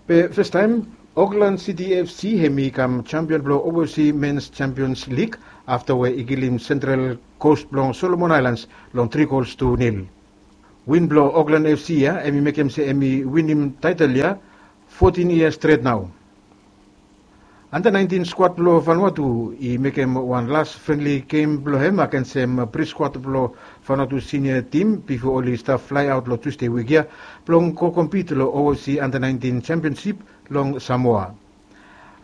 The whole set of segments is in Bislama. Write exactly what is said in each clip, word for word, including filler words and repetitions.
Be festaem, Auckland City F C hemi kam champion blong Overseas Men's Champions League afta we i kilim Central Coast blong Solomon Islands long tri gols tu nil. Win blong Auckland F C ya hemi mekem se hemi winim taetel ya fotin yia stret nao. Anda naentin skuad blong Vanuatu i mekem wan las frenli gem blong hem agensem bri skuad blong Vanuatu sinia tim bifo oli stap flaeaot long Tusde wik ya blong go kompit long Overseas Anda naentin championsip long Samoa.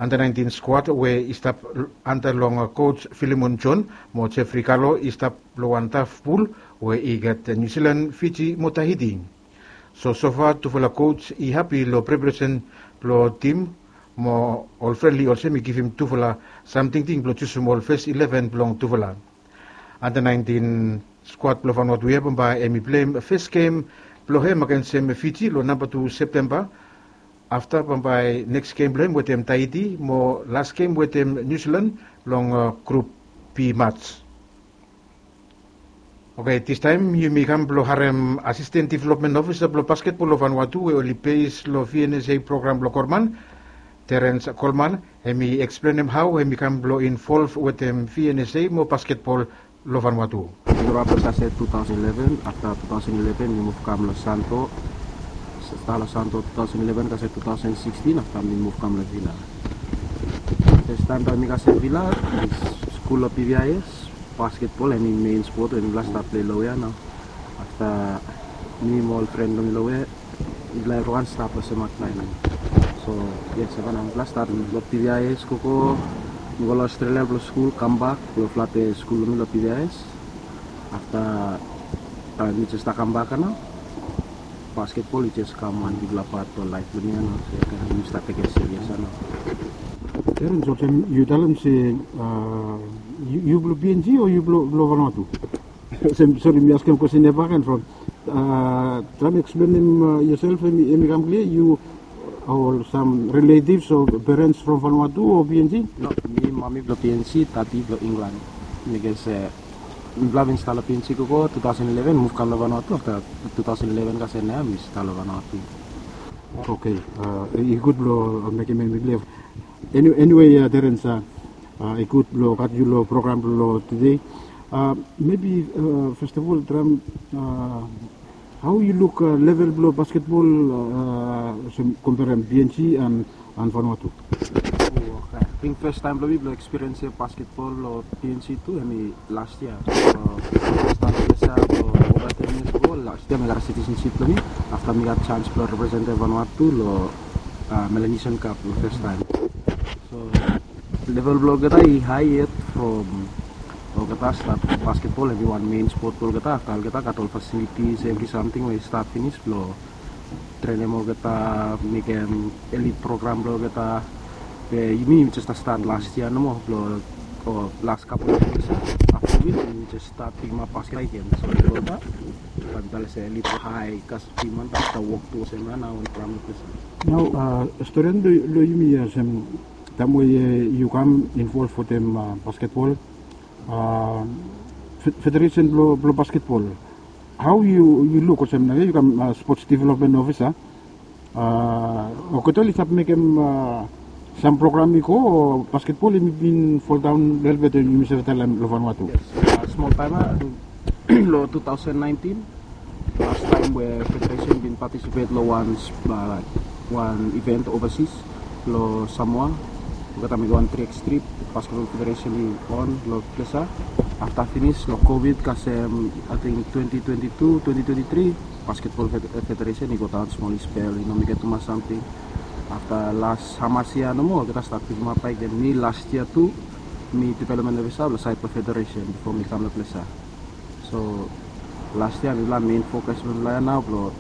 Anda naentin skuad we i stap anda long koj Filimon John mo Jeffrey Kalo i stap long wan taf pul we i gat Niu Silan, Fiji mo Tahiti. So sofa tufala koj i hapi long preparesen blong tim mo ol frenli olsem i givim tufala sam tingting blong jusum ol fes ileven blong tufala. Anda naentin skuad blong Vanuatu ya bambae hemi pleim fes gem blong hem agensem Fiji long namba tu Septemba. Afta bambae neks gem blong hem wetem Tahiti mo las gem wetem Niu Silan long grup B mats. Oke, distaem yumi kam blong harem Asisten Developmen Ofisa blong basketbol long Vanuatu we oli bes long V N S A program blong Korman, Terence Coleman, hemi eksplenem hao hemi kam blong involv wetem V N S A mo basketbol long Vanuatu. Grow up long kasem two thousand eleven, afta two thousand eleven mi muv kam long Santo. Stap long Santo two thousand eleven kasem two thousand sixteen, afta mi muv kam long Vila. Festaem taem mi kasem Vila, mi skul long P V I S. Basketbol hemi mein spot we mifala stap pilei long we ya nao. Afta mi mo ol fren blong mi long we ya, mifala evriwan stap long sem akla ya nao. So yes, hemia nao mifala stat long P V I S, gogo, mi go long Australia blong skul, kambak blong flate skul blong mi long P V I S. Afta taem mi jes stap kambak ya nao, basketbol i jes kam wan bigfala pat blong laef blong mi ya nao. So ya mi stap tekem serious ya nao. Terence, olsem yu talem se, a, yu, yu blong P N G o yu blong, blong Vanuatu? Olsem, sori, mi askem kwestin ya bakegen from, a, traem eksplenem, a, yoself, hemi, hemi kam klia, yu ol sam riletivs o perens from Vanuatu o P N G? No, mi mami blong P N G, tati blong Inglan. Bikos, e, mifala bin stap long P N G gogo two thousand eleven, muv kam long Vanuatu afta two thousand eleven kasem nao ya mi stap long Vanuatu. Oke, a, i gud blong, a, mekem hemi klia. Eni-, eniwe, a, Terence, a, a, i gud blong gat yu long program blong tede. A, mebi, a, fes of ol, traem, a, hao yu luk, a, level blong basketbol, a, olsem komperem P N G and, and Vanuatu? O, oke. Ating festaem blong mi blong ekspiriensim basketbol long P N G tu hemi las yia. So, stap long ples ya blong ova ten yias ago, las yia mi gat citizenship blong mi. Afta mi gat janis blong representem Vanuatu long, a, Melanesian Cup long festaem. So level blong olgeta i hae yet from olgeta stat basketbol hemi wan mein spot blong olgeta. Afta olgeta gat ol fasilitis, evri samting we i stap finis blong trenem olgeta, mekem elit program blong olgeta. Be yumi, yumi jes stat las yia nomo blong, o, las kapel yia. Afta win yumi jes stat pikimap basket bak gen. So olgeta, bae mi talem se elit hae kas piman ta wok tu olsem ya nao wan program long ples ya. Nao, a, storian blong, blong yumi ya olsem, taem we, e, yu kam involv wetem, a, basketbol, a, fe-, federesen blong, blong basketbol. Hao yu, yu luk olsem nao yu kam, a, sports development officer. A, olgeta oli stap mekem, a, sam program i go, o basketbol hemi bin foldaon lelebet, yumi save talem, long Vanuatu? Yes. A, smol taem ya, long two thousand nineteen, lastaem we federesen bin patisipet long wan, a, wan iven ovasis long Samoa. Olgeta mekem wan tri X trip, basketbol federesen i on long ples ya. Afta finis long COVID kasem, ating twenty twenty-two, twenty twenty-three, basketbol fed-, federesen i godaon smol, i spel, i no mekem tumas samting. Afta las hamas yia nomo olgeta stat pikimap bak gen. Mi las yia tu, mi development officer long saed blong federesen bifo mi kam long ples ya. So las yia mifala mein fokas blong mifala ya nao blong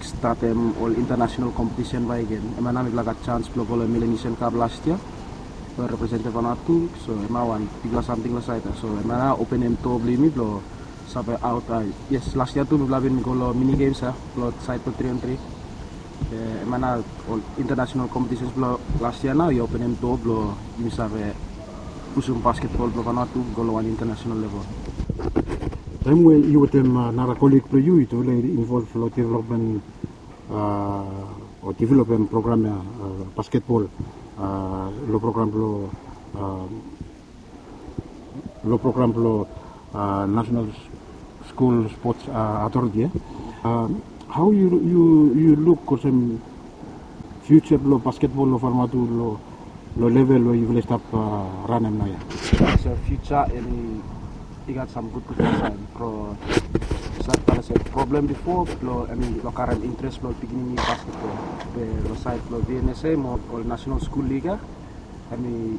statem ol international kompetisen bakegen. Hemia nao mifala gat janis blong go long Melanesian Cup las yia, blong representem Vanuatu. So hemia wan bigfala samting long saed ya. So hemia nao openem doa blong yumi blong save aot, a, yes, las yia tu mifala bin go long mini games ya blong saed blong tri on tri. Be hemia nao ol international competitions blong las yia nao i openem doa blong yumi save pusum basketbol blong Vanuatu go long wan international level. Taem we yu wetem, a, nara kolig blong yu, yutufala i involv long development, a, developem program ia, uh, basketball, uh, lo program blo, uh, lo program blo, uh, National School Sports, uh, Authority, eh? Uh, hao yu, yu, yu luk olsem future blo basketball lo Vanuatu lo, lo level we yufala i stap, uh, ranem naoia? So future hemi i gat sam gudgud saen. From start, olsem, problem bifo blo, I mean, blo karem interes blo pikinini basketball. Be lo saed blo V N S A mo ol National School League ia, hemi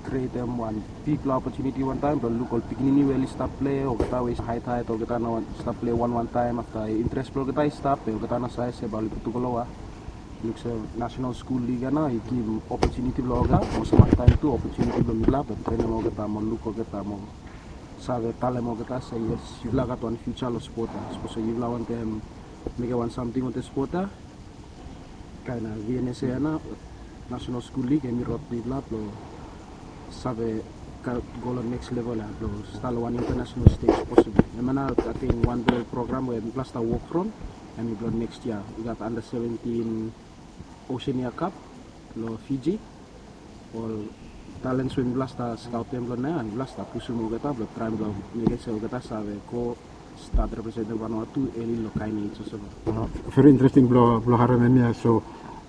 krietem wan bigfala opotuniti wantaem blo luk ol pikinini we oli stap plei, olgeta we i haet haet, olgeta nao stap plei wanwan taem, afta interes blo olgeta i stap, be olgeta nao save se bae oli putum go lo wok. Luk se National School League ia nao i givim opotuniti blo olgeta, mo samtaem tu opotuniti blo mifala blo trenem olgeta mo luk olgeta mo save talem olgeta se yes, yufala gat wan future lo spot ia. Sapos se yufala wantem mekem wan samting wantaem spot ia, kaen V N S A ia nao, National School League, hemi rod mifala blo save go lo next level ia, blo stap lo wan international stage possible. Hemia nao ating wan blo program we mifala stap wok from, hemi blo next yia i gat under seventeen Oceania Cup lo Fiji. Ol talents we mifala stap skaotem blo naoia, mifala stap pusum olgeta blo traem blo mekem se olgeta save go stap representem Vanuatu eli lo kaen ej olsem ia. Uh, very interesting blo, blo harem hemia. So,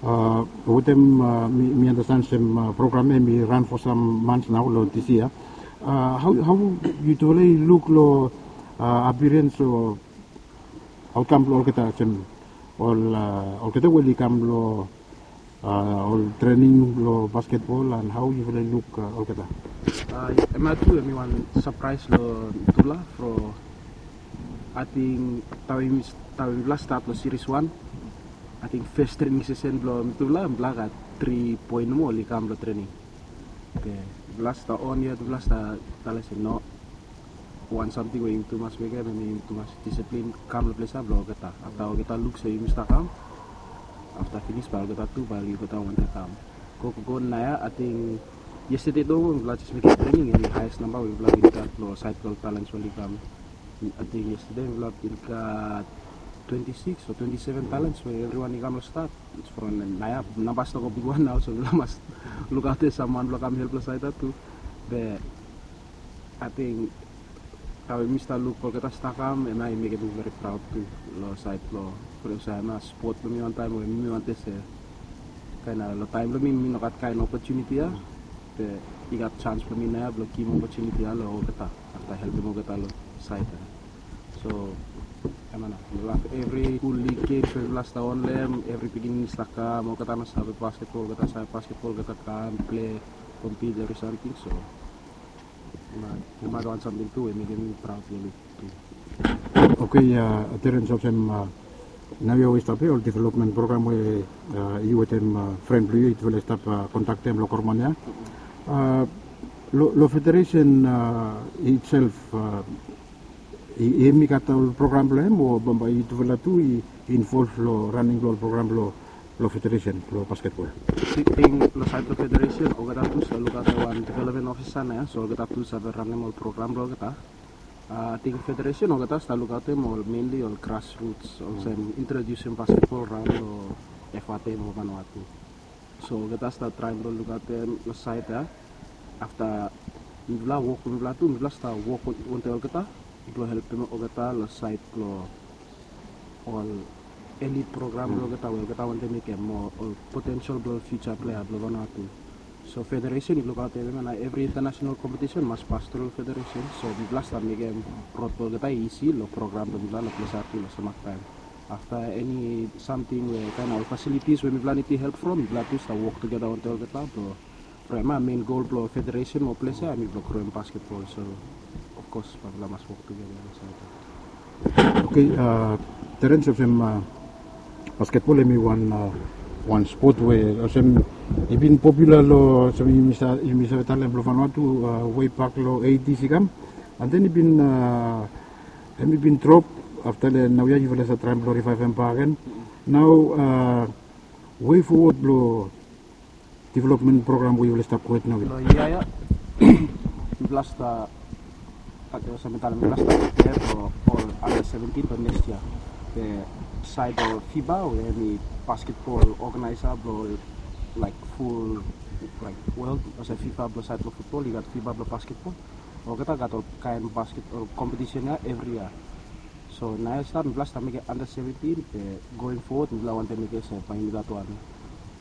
uh, wetem, uh, mi, mi andastan olsem, uh, program ia hemi ran for some months nao lo this year. Uh, hao, hao yutufala i luk lo, uh, appearance o outcome blo olgeta, olsem ol, uh, olgeta we oli kam lo, uh, ol trening blo basketball, and hao yufala i luk, uh, olgeta? Uh, hemia tu hemi wan surprise lo mitufala from, ating, taem, taem mifala stat lo series wan, ating, first training session blo mitufala, mifala gat tri boe nomo oli kam lo trening. Be mifala stap on ia, mifala stap talem se no, wan samting we yumi tu mas mekem, hemi yumi tu mas disiplin, kam lo ples ia blo olgeta. Afta olgeta luk se yumi stap kam, afta finis bae olgeta tu bae olgeta wantem kam. Go, go, go naoia, ating, yestede nomo mifala jes mekem trening, hemi haes namba we mifala bin gat lo saed blo talents we oli kam. Ating yestede mifala bin gat twenty six o twenty seven talents we evriwan i kam lo stat. From naoia namba stap go bigwan nao, so mifala mas lukaotem sam man blo kam help lo saed ia tu. Be ating, taem we mi stap luk olgeta stap kam, hemia i mekem mi very proud tu lo saed blo, from olsem hemia spot blo mi wantaem we mi wantem se, kaen lo taem blo mi, mi no gat kaen opotuniti ia, be i gat janis blo mi naoia blo givim opotuniti ia lo olgeta, afta helpem olgeta lo saed ia. So hemia nao, evri skul league games we mifala stap on lo hem, evri pikinini stap kam, olgeta no save basketball, olgeta save basketball, olgeta kam plei, compete, evri samting. So hemia, hemia wan samting tu we mekem mi proud lo mi tu. Okay, uh, Terence, olsem, uh, naoia we yu stap ia, ol development program we, uh, yu wetem, uh, fren blo yu yufala i stap, uh, kondaktem lo Koromon ia. Uh, lo, lo federation, uh, itself, uh, i, hemi gat ol program blo hem, o bambae yutufala tu i involve lo raning blo ol program blo, lo federation blo basketball? Ating lo saed blo federation, olgeta tu stap lukaotem wan development officer naoia, so olgeta tu save ranem ol program blo olgeta. Uh, ating federation olgeta stap lukaotem ol, mainly ol grassroots, olsem introducem basketball raon lo F R T mo Vanuatu. So olgeta stap traem blo lukaotem lo saed ia. Afta mifala wok, mifala tu, mifala stap wok wan, wantaem olgeta blo helpem olgeta lo saed blo ol elite program blo olgeta we olgeta wantem mekem, mo ol potential blo future player blo Vanuatu. So federation i lukaotem hemia nao, evri international competition mas pas tru federation. So mifala stap mekem rod blo olgeta i isi lo program blo mifala lo ples ia tu lo samtaem. Afta eni samting we kaen ol facilities we mifala nid help from, mifala tu stap wok tugeta wantaem olgeta blo, from hemia main goal blo federation mo ples ia hemi blo groem basketball. So of course bae mifala mas wok tugeta lo saed ia. Okay, uh, Terence, olsem, uh, basketball hemi wan, uh, wan spot we olsem i bin popular lo, olsem yumi sa-, yumi save talem, lo Vanuatu, uh, way back lo eighties i kam. And then i bin, uh, hemi bin drop, afta lo naoia yufala stap traem blo rivivem bakegen. Nao, uh, way forward blo development program we yufala stap gohed naoia? Lo yia ia mifala stap, olsem mi talem, mifala stap prepare blo ol under seventeen blo next year. Be Saed blong FIBA we hemi basketball organizer blong, laik, ful, laik, world, olsem FIBA blong saed blong futbol, i gat FIBA blong basketbol. Olgeta gat ol kaen basket ol kompetisen ya evri yia. So naoia stap mipela stap mekim under seventeen, be going forward mipela wantem mekim olsem bae mipela gat wan